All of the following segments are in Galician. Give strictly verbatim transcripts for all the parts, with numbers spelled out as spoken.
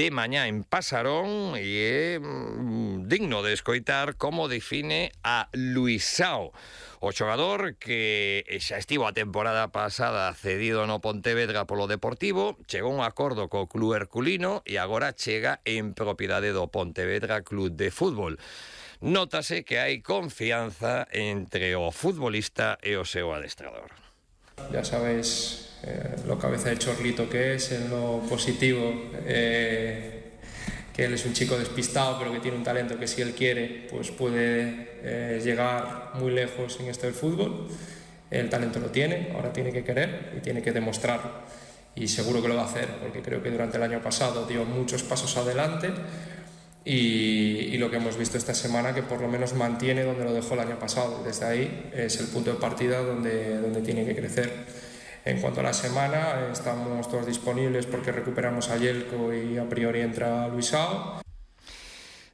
de mañá en Pasarón e é mm, digno de escoitar como define a Luisao, o xogador que xa estivo a temporada pasada cedido no Pontevedra polo Deportivo, chegou a un acordo co Club Herculino e agora chega en propiedade do Pontevedra Club de Fútbol. Nótase que hai confianza entre o futbolista e o seu adestrador. Ya sabéis eh, lo cabeza de chorlito que es, en lo positivo, eh, que él es un chico despistado pero que tiene un talento que si él quiere pues puede eh, llegar muy lejos en esto del fútbol. El talento lo tiene, ahora tiene que querer y tiene que demostrarlo y seguro que lo va a hacer porque creo que durante el año pasado dio muchos pasos adelante. Y, y lo que hemos visto esta semana que por lo menos mantiene donde lo dejó el año pasado. Desde ahí es el punto de partida donde, donde tiene que crecer. En cuanto a la semana, estamos todos disponibles porque recuperamos a Yelko y a priori entra Luisao.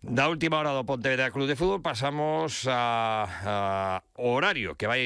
Da última hora do Pontevedra Club de Fútbol pasamos a, a horario que vai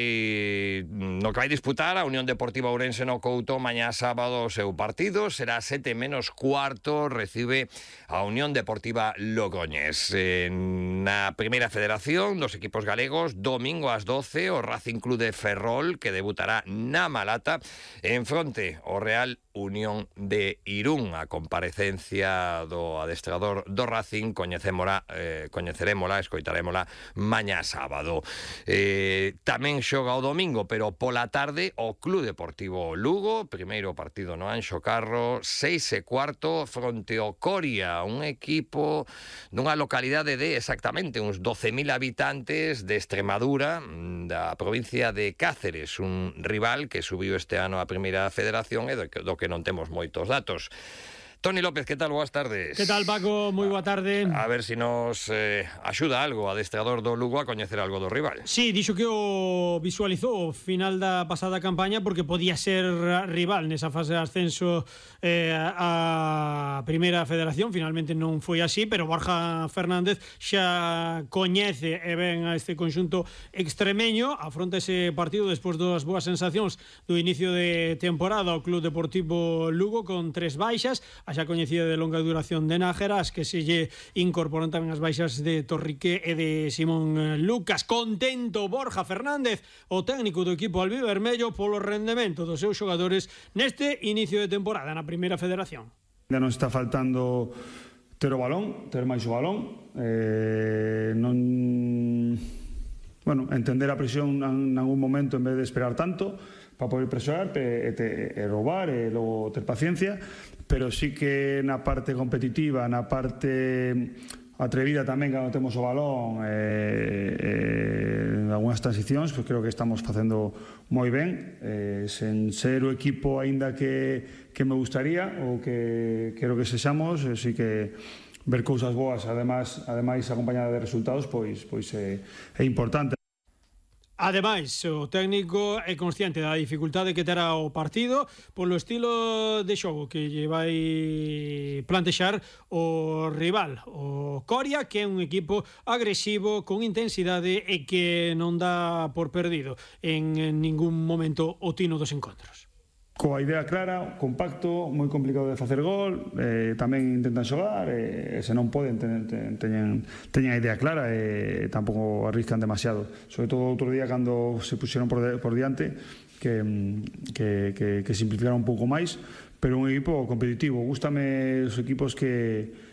no que vai disputar a Unión Deportiva Ourense no Couto mañá sábado o seu partido. Será sete menos cuarto, recibe a Unión Deportiva Logroñés. Na Primeira Federación dos equipos galegos, domingo ás doce, o Racing Club de Ferrol, que debutará na Malata, en fronte o Real Unión de Irún. A comparecencia do adestrador do Racing coñecémola, eh, coñecerémola, escoitarémola mañá sábado. Eh, tamén xoga o domingo, pero pola tarde o Club Deportivo Lugo, primeiro partido no Anxo Carro, seis e cuarto fronte ao Coria, un equipo dunha localidade de exactamente uns doce mil habitantes de Extremadura, da provincia de Cáceres, un rival que subiu este ano a Primeira Federación e do que, do que non temos moitos datos. Toni López, que tal? Boas tardes. Que tal, Paco? Moi boa tarde. A ver se si nos eh, axuda algo o adestrador do Lugo a coñecer algo do rival. Sí, dixo que o visualizou o final da pasada campaña porque podía ser rival nesa fase de ascenso eh, a Primeira Federación. Finalmente non foi así, pero Borja Fernández xa coñece e ven a este conxunto extremeño. Afronta ese partido despois das boas sensacións do inicio de temporada o Club Deportivo Lugo con tres baixas, a xa coñecida de longa duración de Nájera, as que se lle incorporan tamén as baixas de Torrique e de Simón Lucas. Contento Borja Fernández, o técnico do equipo albivermello, polo rendemento dos seus xogadores neste inicio de temporada na Primeira Federación. Ainda nos está faltando ter o balón, ter máis o balón, eh, non, bueno, entender a presión en algún momento en vez de esperar tanto para poder presionar e, e, e roubar e logo ter paciencia, pero sí que na parte competitiva, na parte atrevida tamén cando temos o balón, eh, eh, en algunhas transicións, pues creo que estamos facendo moi ben, eh, sen ser o equipo aínda que, que me gustaría ou que quero que sexamos, eh, sí que ver cousas boas, ademais, ademais acompañada de resultados, pois, pois é, é importante. Ademais, o técnico é consciente da dificultade que terá o partido polo estilo de xogo que lle vai plantexar o rival, o Coria, que é un equipo agresivo, con intensidade e que non dá por perdido en ningún momento o tino dos encontros. Coa idea clara, compacto, moi complicado de facer gol, eh, tamén intentan xogar, e eh, se non poden ten, ten, teñen, teñen a idea clara e eh, tampouco arriscan demasiado. Sobre todo outro día cando se puxeron por, de, por diante que, que, que, que simplificaron un pouco máis, pero un equipo competitivo. Gústame os equipos que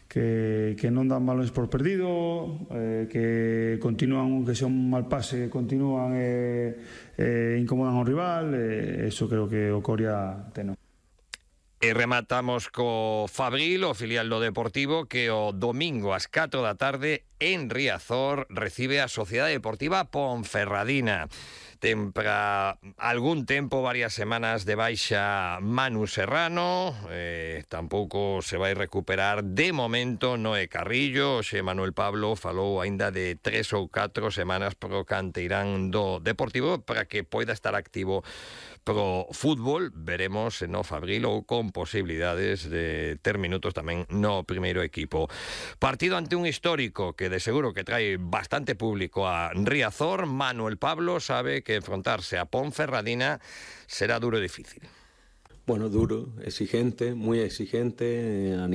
que, que non dan balones por perdido, eh, que continúan, que sea un mal pase, continúan e eh, eh, incomodan ao rival, e eh, eso creo que o Coria ten. E rematamos co Fabril, o filial do Deportivo, que o domingo ás catro da tarde en Riazor recibe a Sociedade Deportiva Ponferradina. Ten para algún tempo, varias semanas de baixa Manu Serrano, eh, tampouco se vai recuperar de momento Noé Carrillo. Xe Manuel Pablo falou aínda de tres ou catro semanas pro canteirán do Deportivo para que poida estar activo pro fútbol. Veremos se no Fabril ou con posibilidades de ter minutos tamén no primeiro equipo. Partido ante un histórico que de seguro que trae bastante público a Riazor. Manuel Pablo sabe que enfrentarse a Ponferradina será duro e difícil. Bueno, duro, exigente, muy exigente a nivel